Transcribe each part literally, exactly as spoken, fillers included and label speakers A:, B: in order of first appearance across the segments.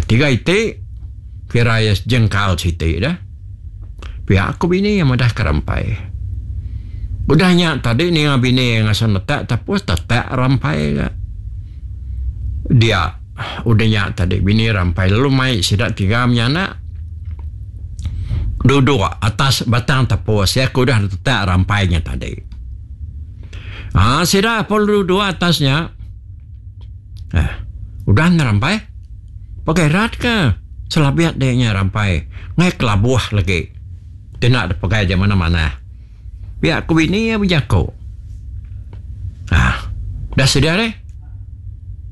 A: Tiga iti kira iya sejengkal siti dah. Pia ku bini iya madah ke Rampai. Udah nya tadi ninga bini iya ngasuh netak tepus tetak Rampai ga. Dia udah nya tadi bini Rampai lalu mai sida tiga menyanak duduk atas batang tepus iya ke udah ditetak Rampai nya tadi. Aa sida pun duduk atas nya. Eh udah ne Rampai. Pakai rat ke selabit dek nya Rampai ngai kelabuh lagi ti enda dipegai dek manah-manah. Pia ku bini iya bejaku. Ah udah sedia deh.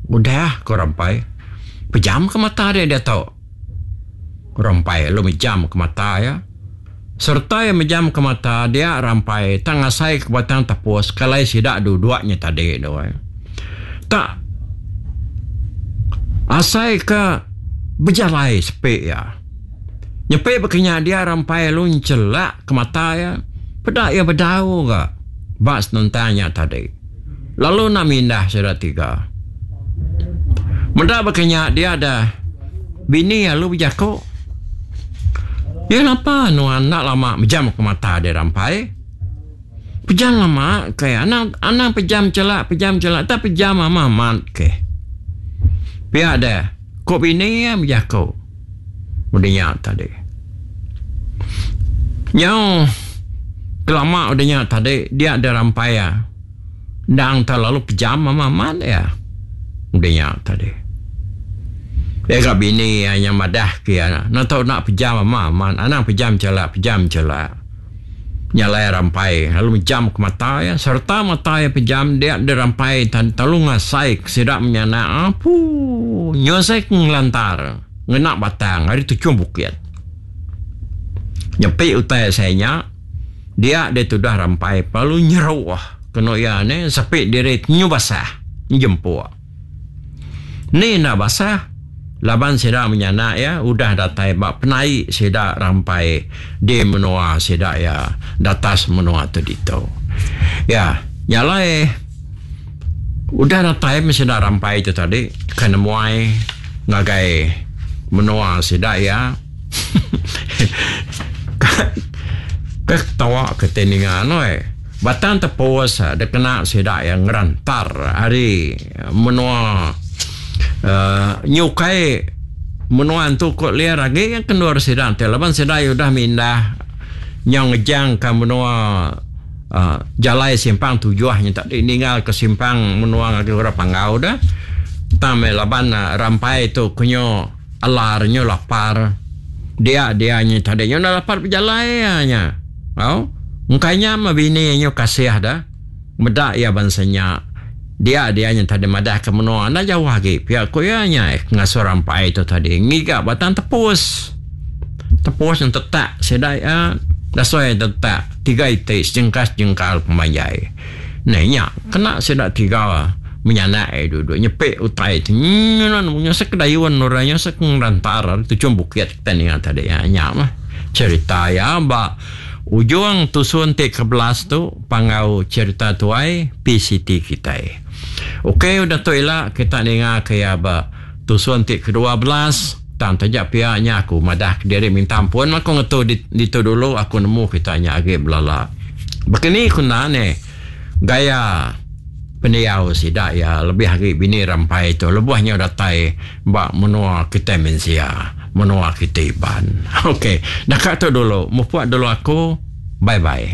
A: Udah ku Rampai. Pejam ke mata dek diatu. Ku Rampai lalu mejam ke mata iya. Sereta iya mejam ke mata dia Rampai tang ngasai ke batang tepus ke alai sida duduk nya tadi tu. Tak asai ke bejalai sepi iya. Nyepi baka nya dia Rampai lalu enchelak ke mata iya peda iya bedau ga ba senentang nya tadi. Lalu enda mindah sida tiga. Meda baka nya dia da bini iya lalu bejaku. Iya lapa nuan enda lama mejam ke mata dia Rampai. Pejam lama ke anang anang pejam chelak pejam chelak tak pejam amat amat ke. Pia deh ku bini iya bejaku udah nya tadi. Nyau kelama udah nya tadi dia deh rampai iya endang terlalu pejam amat amat iya udah nya tadi. Iya ga bini iya nya madah ke iya enda tau enda pejam amat amat anang pejam chelak pejam chelak. Nya alai Rampai lalu mejam ke mata iya sereta mata iya pejam dia deh Rampai telalu ngasai ke sida menyanak apuu nyusai ke ngelantar ngena batang ari tuchung bukit. Nyepi utai asai nya dia deh tudah Rampai lalu nyeruh kenu iya neh sepi diri nyu basah njempuk. Ni enda basah laban sida menyanak iya udah datai ba penai sida Rampai di menua sida iya datas menua tu ditu. Ya, nya alai udah datai meh sida Rampai tu tadi ke nemuai ngagai menua sida iya. Ke ketawa ke ti ninga noi. Batang tepus dikena sida iya ngerantar ari menua uhh nyukai menua entu ku liar agi ke endur sida ti laban sida iya udah mindah nyau ngejang ka menua uhh jalai simpang tujuh nya tadi ninggal ke simpang menua ngagai orang Panggau deh. Tang meh laban rampai tu ku nyu alar nyu lapar dia dia nya tadi nyu enda dapat bejalai iya nya. Au engka nya meh bini nyu kasih da meda iya bansa nya dia dia nya tadi madah ke menua enda jauh agi pia ku iya nya ngasuh rampai tu tadi ngiga batang tepus. Tepus nya tetak sida iya dasuh iya tetak tiga iti sejengkal-sejengkal pemanjai. Neh nya kena sida tiga menyanak iya duduk nyepi utai ti nyenon nyusek dayun orang nyusek ngerantar ari tuchung bukit kitai ninga tadi nya mah cherita iya ba ujung tusun ti ke belas tu panggau cherita tuai P C T kitai. Ok udah tu ila kita ninga ke iya ba tusun ti ke dua belas tang taja pia nya aku madah kediri minta ampun aku ngetu ditu dulu aku nemu kita nya agi belala. Baka ni ku enda neh gaya pendiau sida iya lebih agi bini Rampai tu lebuh nyau datai ba menua kitai mensia, menua kitai Iban. Ok naka tu dulu mupuk dulu aku bye bye.